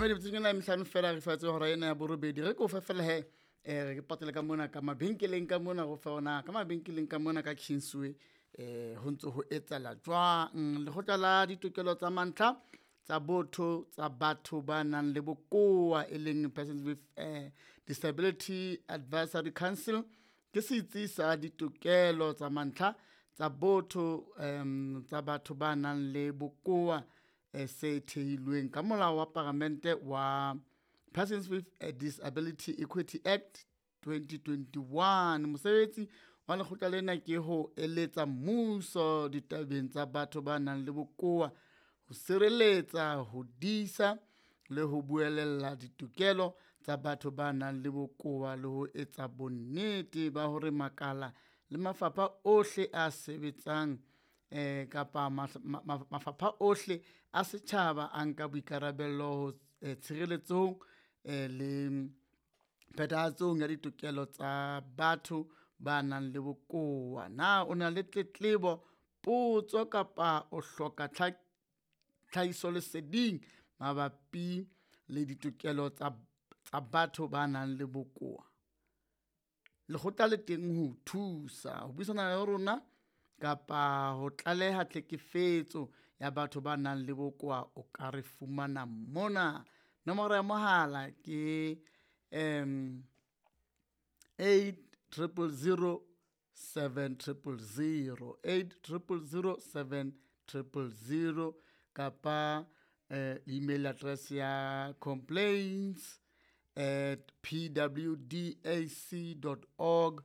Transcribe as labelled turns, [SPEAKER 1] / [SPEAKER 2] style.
[SPEAKER 1] Mamedi metsotsong ena e mehlano fela re fatshe hora ena ya borobedi. Re ko fe fela he, re patele ka mona ka mabenkeleng ka mona, go fa ona ka mabenkeleng ka mona ka Kingsway, ho ntse ho etsahala jwang. Lekgotla la ditokelo tsa mantlha tsa botho tsa batho ba nang le bokowa, e leng Persons with Disability Advisory Council, ke setsi sa ditokelo tsa mantlha tsa botho tsa batho ba nang le bokowa, se thehilweng ka molao wa paramente wa Persons with Disability Equity Act 2021. Mosebetsi wa lekgotla lena ke ho eletsa mmuso ditabeng tsa batho ba nang le bokowa, ho sireletsa, ho disa le ho buelella ditokelo tsa batho ba nang le bokowa, le ho etsa bonnete ba hore makala le mafapha ohle a sebetsang kapa mafapha ohle a setjhaba a nka boikarabello ho tshireletsong le phethahatsong ya ditokelo tsa batho ba nang le bokowa. Na o na le tletlebo, potso kapa o hloka tlhahisoleseding mabapi le ditokelo tsa batho ba nang le bokowa? Lekgotla le teng ho o thusa ho buisana le rona kapa ho tlaleha tlhekefetso ya batho ba nang le bokowa, o ka re fumana mona. Nomoro ya mohala ke 8000 7000, 8000 7000, kapa email address ya complaints at pwdac dot org.